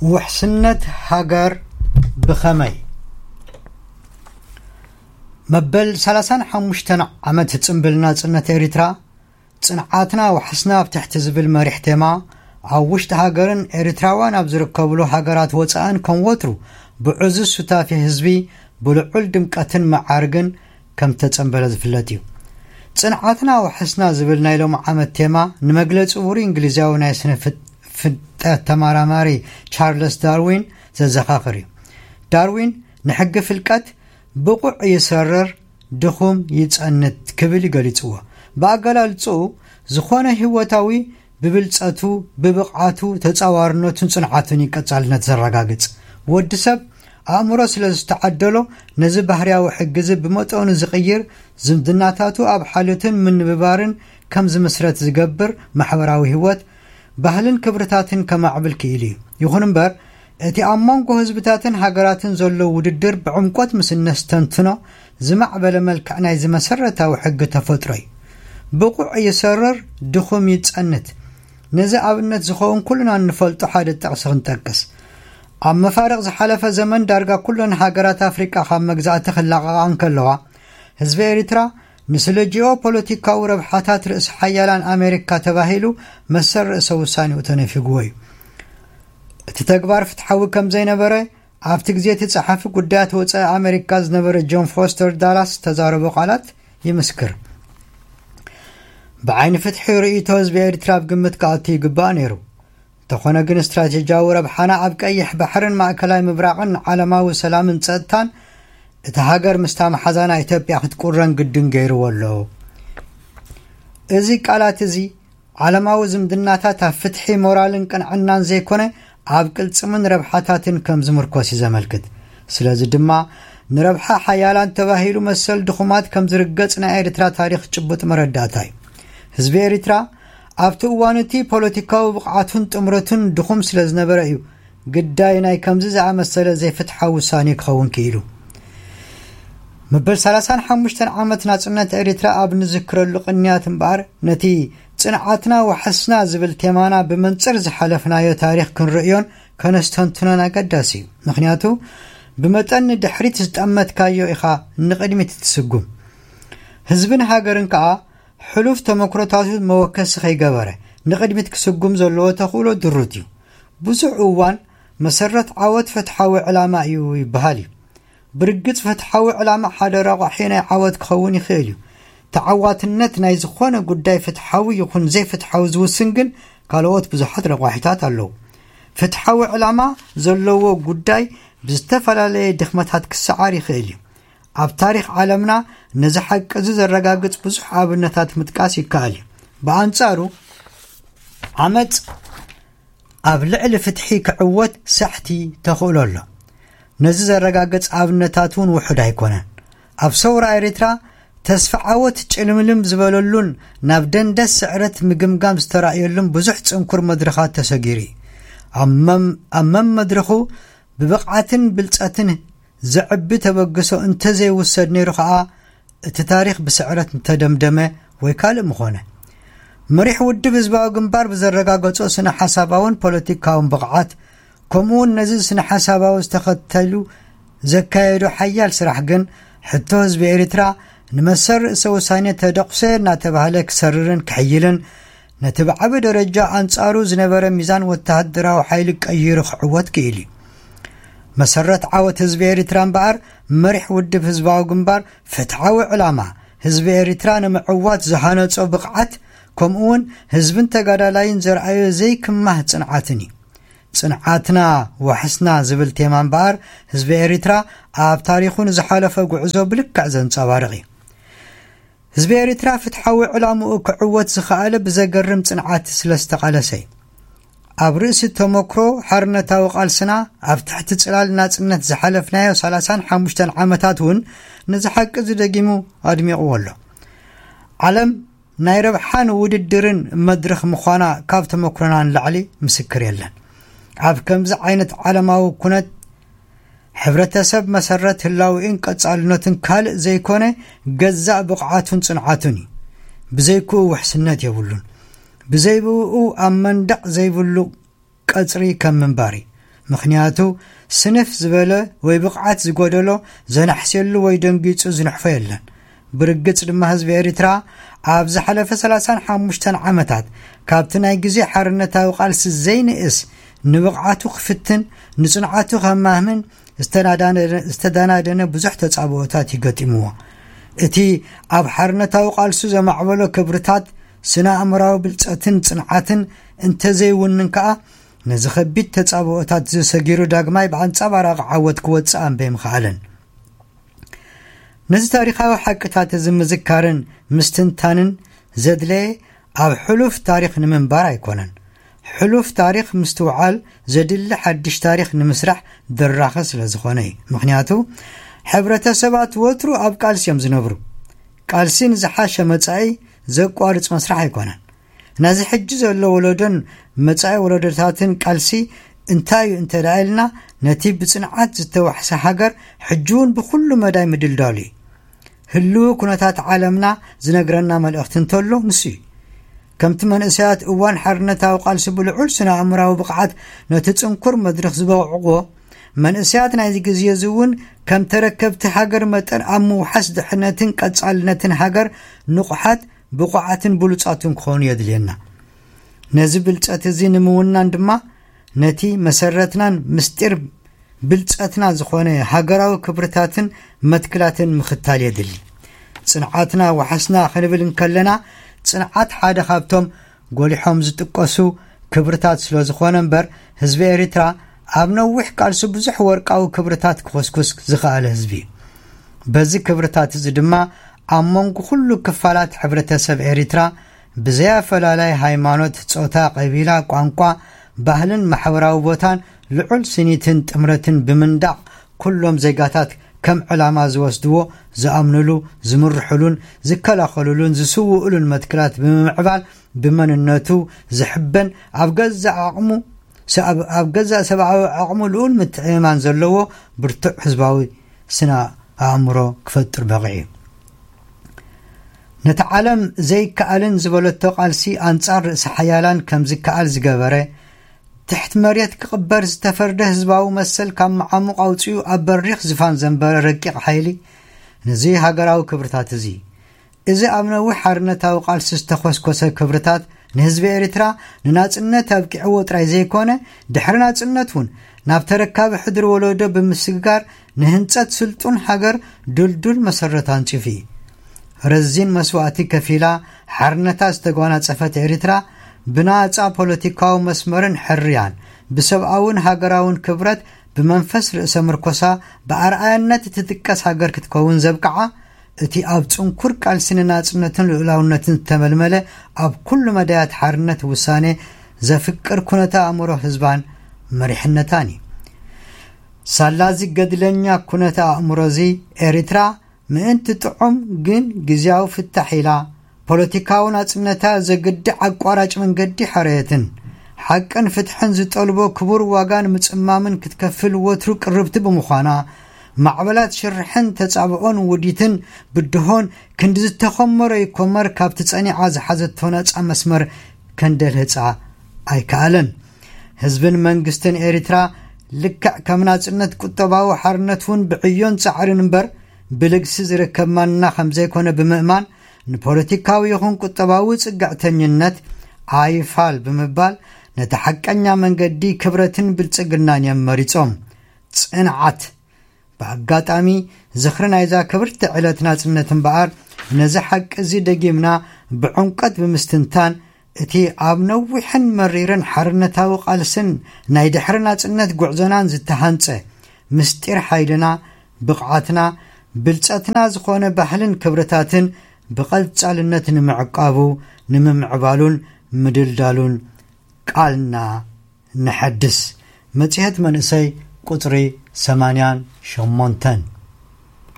ውሕስነት ሃገር ብኸመይ? መበል ሰላሳን ሓሙሽተን ዓመት ጽምብል ናጽነት ኤሪትራ፣ ጽንዓትና ዋሕስና ኣብ ትሕቲ ዝብል መሪሕ ቴማ፣ ኣብ ውሽጢ ሃገርን ኤሪትራውያን ኣብ ዝርከብሉ ሃገራት ወጻእን ከም ወትሩ ብዕዙዝ ሱታፌ ህዝቢ ብልዑል ድምቀትን መዓርግን ከም ተጸንበለ ዝፍለጥ እዩ። ጽንዓትና ዋሕስና ዝብል ናይ ሎሚ ዓመት ቴማ ንመግለጺ ውሩይ እንግሊዛዊ ናይ ስነ ፍጥ-፣ ፍልጠት ተመራማሪ ቻርለስ ዳርዊን ዘዘኻኽር እዩ። ዳርዊን ንሕጊ ፍልቀት "ብቑዕ ይሰርር፣ ድኹም ይጸንት" ክብል ይገሊጽዎ። ብኣገላልጽኡ፣ ዝኾነ ህይወታዊ ብብልጸቱ፣ ብብቕዓቱ፣ ተጻዋርነቱን ጽንዓቱን እዩ ቀጻልነት ዘረጋግጽ። ወዲ ሰብ ኣእምሮ ስለ ዝተዓደሎ፣ ነዚ ባህርያዊ ሕጊ እዚ ብመጠኑ ዝቕይር፣ ዝምድናታቱ ኣብ ሓልዮትን ምንብባርን ከም ዝምስረት ዝገብር ማሕበራዊ ህይወት፣ ባህልን ክብርታትን ከማዕብል ክኢሉ እዩ። ይኹን እምበር፣ እቲ ኣብ መንጎ ህዝብታትን ሃገራትን ዘሎ ውድድር ብዕምቆት ምስ እነስተንትኖ፣ ዝማዕበለ መልክዕ ናይዚ መሰረታዊ ሕጊ ተፈጥሮ እዩ። "ብቑዕ ይሰርር፣ ድኹም ይጸንት።" ነዚ ኣብነት ዝኸውን ኩልና እንፈልጦ ሓደ ጥቕሲ ክንጠቅስ። ኣብ መፋርቕ ዝሓለፈ ዘመን ዳርጋ ኩለን ሃገራት ኣፍሪቃ ካብ መግዛእቲ ክላቐቓ እንከለዋ፣ ህዝቢ ኤሪትራ ንስለ ጂኦፖለቲካዊ ረብሓታት ርእሲ ሓያላን ኣሜሪካ ተባሂሉ መሰል ርእሰ ውሳኔኡ ተነፊግዎ እዩ። እቲ ተግባር ፍትሓዊ ከም ዘይነበረ ኣብቲ ግዜ እቲ ጸሓፊ ጉዳያት ወጻኢ ኣሜሪካ ዝነበረ ጆን ፎስተር ዳላስ ዝተዛረቦ ቃላት ይምስክር። ብዓይኒ ፍትሒ ርእይቶ ህዝቢ ኤሪትራ ኣብ ግምት ክኣቱ ይግባእ ነይሩ። እንተኾነ ግን ስትራቴጂያዊ ረብሓና ኣብ ቀይሕ ባሕርን ማእከላይ ምብራቕን ንዓለማዊ ሰላምን ጸጥታን እቲ ሃገር ምስታ መሓዛና ኢትዮጵያ ክትቁረን ግድን ገይርዎ ኣሎ። እዚ ቃላት እዚ ዓለማዊ ዝምድናታት ኣብ ፍትሒ፣ ሞራልን ቅንዕናን ዘይኮነ ኣብ ቅልጽምን ረብሓታትን ከም ዝምርኮስ እዩ ዘመልክት። ስለዚ ድማ ንረብሓ ሓያላን ተባሂሉ መሰል ድኹማት ከም ዝርገጽ ናይ ኤርትራ ታሪኽ ጭቡጥ መረዳእታ እዩ። ህዝቢ ኤሪትራ ኣብቲ እዋን እቲ ፖለቲካዊ ብቕዓቱን ጥምረቱን ድኹም ስለ ዝነበረ እዩ ግዳይ ናይ ከምዚ ዝኣመሰለ ዘይፍትሓዊ ውሳኔ ክኸውን ክኢሉ። መበል ሰላሳን ሓሙሽተን ዓመት ናጽነት ኤሪትራ ኣብ ንዝክረሉ ቅንያት እምበኣር፣ ነቲ ጽንዓትና ዋሕስና ዝብል ቴማና ብመንጽር ዝሓለፍናዮ ታሪኽ ክንርእዮን ከነስተንትኖን ኣገዳሲ እዩ። ምኽንያቱ፣ ብመጠን ንድሕሪት ዝጠመትካዮ ኢኻ ንቕድሚት እትስጉም። ህዝብን ሃገርን ከኣ ሕሉፍ ተመክሮታቱ መወከሲ ከይገበረ ንቕድሚት ክስጉም ዘለዎ ተኽእሎ ድሩት እዩ። ብዙሕ እዋን መሰረት ዓወት ፍትሓዊ ዕላማ እዩ ይበሃል እዩ። ብርግጽ ፍትሓዊ ዕላማ ሓደ ረቋሒ ናይ ዓወት ክኸውን ይኽእል እዩ። ተዓዋትነት ናይ ዝኾነ ጉዳይ ፍትሓዊ ይኹን ዘይፍትሓዊ ዝውስን ግን ካልኦት ብዙሓት ረቋሒታት ኣለዉ። ፍትሓዊ ዕላማ ዘለዎ ጉዳይ ብዝተፈላለየ ድኽመታት ክሰዓር ይኽእል እዩ። ኣብ ታሪኽ ዓለምና ነዚ ሓቂ እዚ ዘረጋግጽ ብዙሕ ኣብነታት ምጥቃስ ይከኣል እዩ። ብኣንጻሩ፣ ዓመጽ ኣብ ልዕሊ ፍትሒ ክዕወት ሳሕቲ ተኽእሎ ኣሎ። ነዚ ዘረጋግጽ ኣብነታት እውን ውሑድ ኣይኮነን። ኣብ ሰውራ ኤሪትራ ተስፋ ዓወት ጭልምልም ዝበለሉን ናብ ደንደስ ስዕረት ምግምጋም ዝተራእየሉን ብዙሕ ጽንኩር መድረኻት ተሰጊሩ እዩ። ኣብ መም-፣ ኣብ መም መድረኹ ብብቕዓትን ብልጸትን ዘዕቢ ተበግሶ እንተዘይውሰድ ነይሩ ኸኣ፣ እቲ ታሪኽ ብስዕረት ምተደምደመ ወይ ካልእ ምኾነ። መሪሕ ውድብ ህዝባዊ ግንባር ብዘረጋገጾ ስነ ሓሳባውን ፖለቲካውን ብቕዓት፣ ከምኡ እውን ነዚ ስነ ሓሳባዊ ዝተኸተሉ ዘካየዶ ሓያል ስራሕ ግን፣ ሕቶ ህዝቢ ኤሪትራ ንመሰል ርእሰ ውሳኔ ተደቑሰ እናተባህለ ክሰርርን ክሕይልን፣ ነቲ ብዓቢ ደረጃ ኣንጻሩ ዝነበረ ሚዛን ወተሃደራዊ ሓይሊ ቀይሩ ክዕወት ክኢሉ እዩ። መሰረት ዓወት ህዝቢ ኤሪትራ እምበኣር፣ መሪሕ ውድብ ህዝባዊ ግንባር ፍትሓዊ ዕላማ፣ ህዝቢ ኤሪትራ ንምዕዋት ዝሃነጾ ብቕዓት፣ ከምኡ እውን ህዝብን ተጋዳላይን ዘርኣዮ ዘይክማህ ጽንዓትን እዩ። ጽንዓትና ዋሕስና ዝብል ቴማ እምበኣር፣ ህዝቢ ኤሪትራ ኣብ ታሪኹ ንዝሓለፈ ጉዕዞ ብልክዕ ዘንጸባርቕ እዩ። ህዝቢ ኤሪትራ ፍትሓዊ ዕላምኡ ክዕወት ዝኸኣለ ብዘገርም ጽንዓት ስለ ዝተቓለሰ እዩ። ኣብ ርእሲ ተመክሮ ሓርነታዊ ቃልስና፣ ኣብ ትሕቲ ጽላል ናጽነት ዝሓለፍናዮ ሰላሳን ሓሙሽተን ዓመታት እውን ነዚ ሓቂ እዚ ደጊሙ ኣድሚቕዎ ኣሎ። ዓለም ናይ ረብሓን ውድድርን መድረኽ ምዃና ካብ ተመክሮና ንላዕሊ ምስክር የለን። ኣብ ከምዚ ዓይነት ዓለማዊ ኩነት፣ ሕብረተሰብ መሰረት ህላዌኡን ቀጻልነቱን ካልእ ዘይኮነ፣ ገዛእ ብቕዓቱን ጽንዓቱን እዩ። ብዘይክኡ ውሕስነት የብሉን። ብዘይብኡ ኣብ መንደቕ ዘይብሉ ቀጽሪ ከም ምንባር እዩ። ምኽንያቱ፣ ስንፍ ዝበለ ወይ ብቕዓት ዝጎደሎ ዘናሕስየሉ ወይ ደንጊጹ ዝንሕፎ የለን። ብርግጽ ድማ፣ ህዝቢ ኤሪትራ ኣብ ዝሓለፈ ሰላሳን ሓሙሽተን ዓመታት፣ ካብቲ ናይ ግዜ ሓርነታዊ ቃልሲ ዘይንእስ፣ ንብቕዓቱ ክፍትን ንጽንዓቱ ከማህምን ዝተናዳነ-፣ ዝተደናደነ ብዙሕ ተጻብኦታት ይገጢምዎ። እቲ ኣብ ሓርነታዊ ቃልሱ ዘማዕበሎ ክብርታት፣ ስነ ኣእምራዊ ብልጸትን ጽንዓትን እንተዘይውንን ከኣ፣ ነዚ ከቢድ ተጻብኦታት እዚ ሰጊሩ ዳግማይ ብኣንጻባራቂ ዓወት ክወጽእ ኣንበይ ምኽኣለን። ነዚ ታሪኻዊ ሓቅታት እዚ ምዝካርን ምስትንታንን ዘድለየ ኣብ ሕሉፍ ታሪኽ ንምንባር ኣይኮነን። ሕሉፍ ታሪኽ ምስትውዓል ዘድሊ ሓድሽ ታሪኽ ንምስራሕ ድራኸ ስለ ዝኾነ እዩ። ምኽንያቱ፣ ሕብረተሰባት ወትሩ ኣብ ቃልሲ እዮም ዝነብሩ። ቃልሲ ንዝሓሸ መጻኢ ዘቋርጽ መስራሕ ኣይኮነን። ነዚ ሕጂ ዘሎ ወለዶን መጻኢ ወለዶታትን ቃልሲ እንታይ እዩ እንተ ደኣ ኢልና፣ ነቲ ብጽንዓት ዝተዋሕሰ ሃገር ሕጂ እውን ብኹሉ መዳይ ምድልዳሉ እዩ። ህልው ኩነታት ዓለምና ዝነግረና መልእኽቲ እንተሎ ንሱ እዩ። ከምቲ መንእሰያት እዋን ሓርነታዊ ቃልሲ ብልዑል ስነ ኣእምራዊ ብቕዓት ነቲ ጽንኩር መድረኽ ዝበቕዕዎ፣ መንእሰያት ናይዚ ግዜ እዚ እውን ከም ተረከብቲ ሃገር መጠን ኣብ ምውሓስ ድሕነትን ቀጻልነትን ሃገር ንቑሓት፣ ብቑዓትን ብሉጻትን ክኾኑ የድልየና። ነዚ ብልጸት እዚ ንምውናን ድማ ነቲ መሰረትናን ምስጢር ብልጸትና ዝኾነ ሃገራዊ ክብርታትን መትክላትን ምኽታል የድሊ። ጽንዓትና ዋሕስና ክንብል እንከለና፣ ጽንዓት ሓደ ካብቶም ጎሊሖም ዝጥቀሱ ክብርታት ስለ ዝኾነ እምበር፣ ህዝቢ ኤሪትራ ኣብ ነዊሕ ቃልሱ ብዙሕ ወርቃዊ ክብርታት ክኹስኩስ ዝኸኣለ ህዝቢ እዩ። በዚ ክብርታት እዚ ድማ ኣብ መንጎ ኩሉ ክፋላት ሕብረተሰብ ኤሪትራ ብዘይ ኣፈላላይ ሃይማኖት፣ ጾታ፣ ቀቢላ፣ ቋንቋ፣ ባህልን ማሕበራዊ ቦታን ልዑል ስኒትን ጥምረትን ብምንዳቕ ኩሎም ዜጋታት ከም ዕላማ ዝወስድዎ፣ ዝኣምኑሉ፣ ዝምርሑሉን ዝከላኸሉሉን ዝስውኡሉን መትክላት ብምምዕባል ብመንነቱ ዝሕበን ኣብ ገዛእ ዓቕሙ፣ ኣብ ገዛእ ሰብኣዊ ዓቕሙ ልዑል ምትዕምማን ዘለዎ ብርቱዕ ህዝባዊ ስነ ኣእምሮ ክፈጥር በቒዑ። ነቲ ዓለም ዘይከኣልን ዝበለቶ ቃልሲ ኣንጻር ርእሰ ሓያላን ከም ዝከኣል ዝገበረ፣ ትሕቲ መሬት ክቕበር ዝተፈርደ ህዝባዊ መሰል ካብ መዓሙቕ ኣውጺኡ ኣብ በሪኽ ዝፋን ዘንበረ ረቂቕ ሓይሊ፣ ነዚ ሃገራዊ ክብርታት እዚ፣ እዚ ኣብ ነዊሕ ሓርነታዊ ቃልሲ ዝተኾስኮሰ ክብርታት ንህዝቢ ኤሪትራ ንናጽነት ኣብቂዕዎ ጥራይ ዘይኮነ፣ ድሕሪ ናጽነት እውን ናብ ተረካቢ ሕድሪ ወለዶ ብምስግጋር ንህንጸት ስልጡን ሃገር ድልዱል መሰረት ኣንጺፉ እዩ። ረዚን መስዋእቲ ከፊላ ሓርነታ ዝተጓናጸፈት ኤሪትራ ብናጻ ፖለቲካዊ መስመርን ሕርያን ብሰብኣውን ሃገራውን ክብረት ብመንፈስ ርእሰ ምርኮሳ ብኣርኣያነት እትጥቀስ ሃገር ክትከውን ዘብቅዓ እቲ ኣብ ጽንኩር ቃልሲ ንናጽነትን ልኡላውነትን ዝተመልመለ ኣብ ኩሉ መዳያት ሓርነት ውሳኔ ዘፍቅር ኩነተ ኣእምሮ ህዝባን መሪሕነታን እዩ። ሳላ እዚ ገድለኛ ኩነተ ኣእምሮ እዚ ኤሪትራ ምእንቲ ጥዑም ግን ግዝያዊ ፍታሕ ኢላ ፖለቲካዊ ናጽነታ ዘግድዕ ኣቋራጭ መንገዲ ሓረየትን ሓቅን ፍትሕን ዝጠልቦ ክቡር ዋጋ ንምጽማምን ክትከፍል ወትሩ ቅርብቲ ብምዃና፣ ማዕበላት ሽርሕን ተጻብኦን ውዲትን ብድሆን ክንዲ ዝተኾመረ ይኮመር ካብቲ ጸኒዓ ዝሓዘቶ ናጻ መስመር ከንደልህጻ ኣይከኣለን። ህዝብን መንግስትን ኤሪትራ ልክዕ ከም ናጽነት ቁጠባዊ ሓርነት እውን ብዕዮን ጻዕርን እምበር ብልግሲ ዝርከብ ማንና ከም ዘይኮነ ብምእማን ንፖለቲካዊ ይኹን ቁጠባዊ ጽግዕተኝነት ኣይፋል ብምባል ነቲ ሓቀኛ መንገዲ ክብረትን ብልጽግናን እዮም መሪጾም። ጽንዓት! ብኣጋጣሚ ዝኽሪ ናይዛ ክብርቲ ዕለት ናጽነት እምበኣር ነዚ ሓቂ እዚ ደጊምና ብዕምቀት ብምስትንታን እቲ ኣብ ነዊሕን መሪርን ሓርነታዊ ቃልስን ናይ ድሕሪ ናጽነት ጉዕዞናን ዝተሃንጸ ምስጢር ሓይልና፣ ብቕዓትና፣ ብልጸትና ዝኾነ ባህልን ክብርታትን ብቐጻልነት ንምዕቃቡ፣ ንምምዕባሉን ምድልዳሉን ቃልና ንሐድስ። መጽሔት መንእሰይ ቁጽሪ ሰማንያን ሸሞንተን።